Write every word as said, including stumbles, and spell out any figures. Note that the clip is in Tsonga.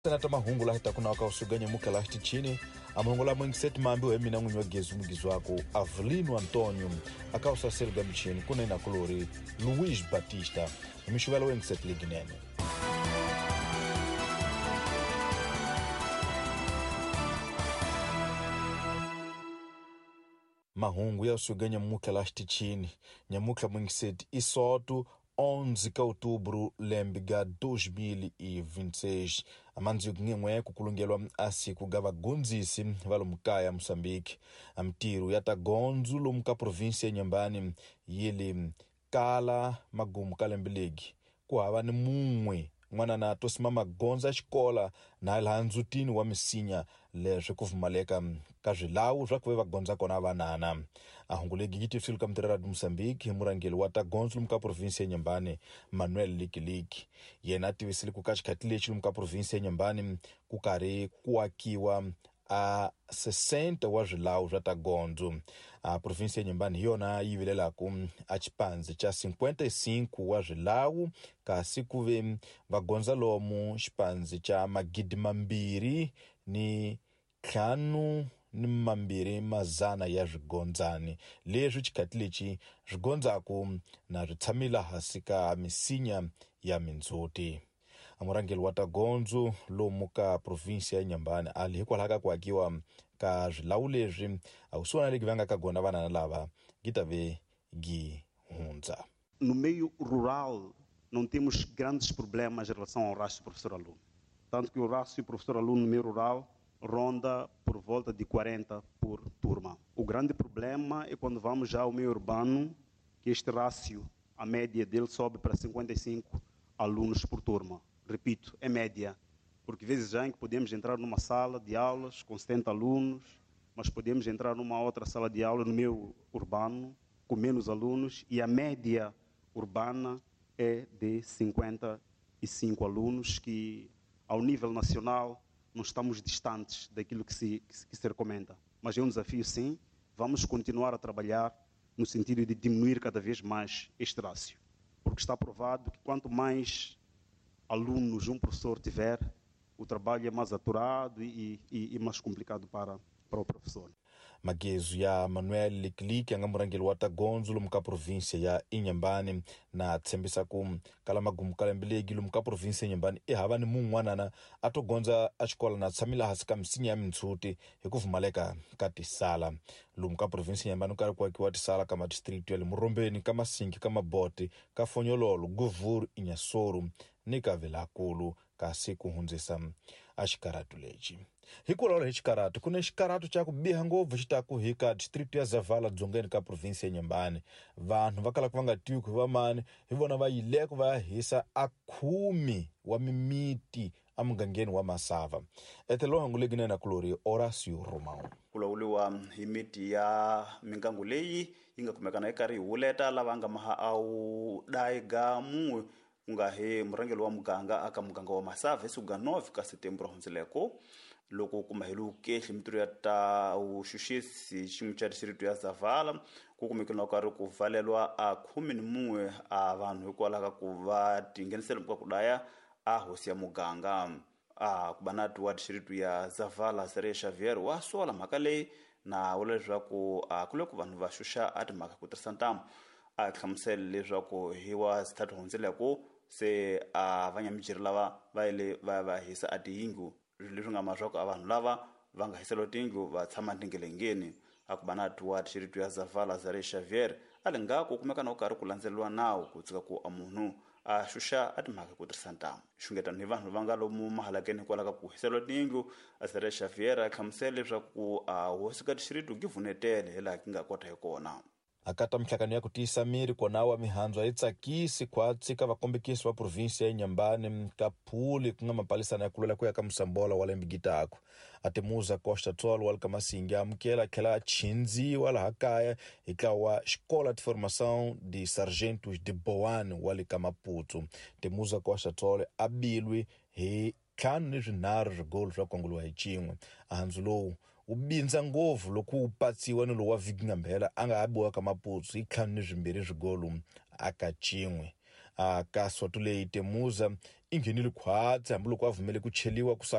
Senata mahungu la hita kuna waka nyamuka la chini amahungu la mwingiseti mambi mina n'winyi wa gezi mugizi wako Avelino Antonio akausaselga michini kuna ina kulori Luiz Batista mixuvela wengiseti liginene. Mahungu ya usuga nyamuka la chini nyamuka mwingiseti isoto onze de outubro lembiga dois mil e vinte e seis amanzi ngemwe kukulungelwa asiku gavagunzisi valomukaya Moçambique amtiru yatagonzu lomuka província ya Inhambane yili kala magumu kalembiligi kuhava ni munwe n'wana na tosima magonza ya xikola na laha ndzutini wa misinya leswi ku pfumaleka ka swilawu swa ku ve va gondza kona vanana. A hungu legi yi tivisiwile ka mutirhela wa Moçambique hi murhangeri wa ta gondzo lomu ka province ya Inhambane Manuel Likiliki. Yena a tivisile ku ka xikhati lexi lomu ka province ya Inhambane ku karhi ku akiwa a sessenta wa swilawu swa ta gondzo. A província ya Inhambane hi yona yi vilelaku a xipandzi xa cinquenta e cinco wa swilawu kasi ku ve va gondza lomu xipandzi xa magidi mambirhi ni ntlhanu ni mambirhi mazana ya swigondzani leswi xikhati lexi swi gondzaku na swi tshamile hansi ka misinya ya mindzhuti. Murhangeri wa ta gondzo lomu ka province ya Inhambane ali hikwalaho ka ku akiwa ka swilawu leswi a kusuhana leki va nga ka gona vanana lava gi ta ve gi hundza. No meio rural não temos grandes problemas em relação ao rácio professor-aluno. Tanto que o rácio professor-aluno no meio rural ronda por volta de quarenta por turma. O grande problema é quando vamos já ao meio urbano, que este rácio, a média dele sobe para cinquenta e cinco alunos por turma. Repito, é média, porque vezes já em que podemos entrar numa sala de aulas com setenta alunos, mas podemos entrar numa outra sala de aula no meio urbano com menos alunos e a média urbana é de cinquenta e cinco alunos, que ao nível nacional não estamos distantes daquilo que se, que se recomenda. Mas é um desafio, sim, vamos continuar a trabalhar no sentido de diminuir cada vez mais este rácio, porque está provado que quanto mais alunos um professor tiver, o trabalho é mais aturado e, e, e mais complicado para, para o professor. Magezu ya Manuel Likiliki anga murhangeri wa ta gondzo lomu ka província ya Inhambane na tshembisa ku kala magumu ka lembe legi lomu ka província ya Inhambane i hava ni mun'wanana a to gondza a xikola na tshamile hansi ka misinya ya mintshuti hi ku pfumaleka ka tisala. Lomu ka província ya Inhambane ku karhi ku akiwa tisala ka madistrikiti ya le Murombeni, ka Masingi, ka Mabote, ka Fonyololo, Guvuru, Inhassoro ni ka Vilankulu kasi ku hundzisa a xikaratu lexi. Hi ku vulavula hi xikaratu, ku na xikaratu xa ku biha ngopfu xi ta ku hi ka district ya Zavala dzongeni ka province ya Inhambane. Vanhu va kalaka va nga tivi ku hi vamani hi vona va yileko va ya hisa a khume wa mimiti emugangeni wa Masava. Etelo hangu legi na kulori Horacio Romão. Ku lawuriwa hi miti ya mingangu leyi yi nga kumekana yi karhi yi huleta lava nga maha a wu dayiga mun'we ku nga hi murhangeri wa muganga aka muganga wa Masava hi siku ga nove ka Setembro hundzileko loko kuma hi lukehli mitirho ya ta vuxuxisi xin'we xa distrito ya Zavala ku kumekile na karhi ku valelwa a khume ni mun'we a vanhu hikwalaho ka ku va tinghenisela ka ku daya a hosi ya muganga. A ku va na wa distrito ya Zavala Sere Xavier wa sola mhaka leyi na vula leswaku a ku le ku vanhu va xuxa a timhaka ku tirhisa ntamu. A hlamusela leswaku hi wa sithathu hundzileko se a vanyamijeri lava va yile va va hisa a tiyindlu leswi nga maswaku a vanhu lava va nga hiseliwa tiyindlu va tshama tingelengeni. A ku va na wa distrito ya Zavala Zare Xavier a le ngaku kumeka na ku karhi ku landzeleriwa nawu ku tshika ku a munhu a xuxa a timhaka ku tirhisa ntamu. Xungetano hi vanhu va nga lomu mahalakeni hikwalaho ka ku hiseliwa tiyindlu a Zare Xavier a hlamusela leswaku a hosi ka distrito gi vunetele hi laha ki nga kota hi kona. Akata mihlangano ya ku tiyisa miri kona wa mihandzu a yi tsakisi khwatsi ka vakombekisi va provinsi ya Inhambane ka Phuli ku nga mapalisana ya ku lwela ku ya ka Mosambola wa lembe gitaku. A Temuza Costa Tsolo wa le ka Masingi a amukela a tlhela a chindziwa laha kaya hi ntlawa wa Escola de Formação de Sargentos de Boane wa le ka Maputo. Temuza Costa Tsolo a bilwi hi ntlhanu ni swinharhu swigolo swa kongoliwa hi xin'we. Handzu lowu wu bindza ngopfu loko wu patsiwa ni lowu wa vhiki nga mbhela a nga ha biwa ka Maputo hi ntlhanu ni swimbirhi swigolo aka xin'we. A ka soto leyi Temuza i nghenile khwatsi hambiloko a vumele ku cheliwa ku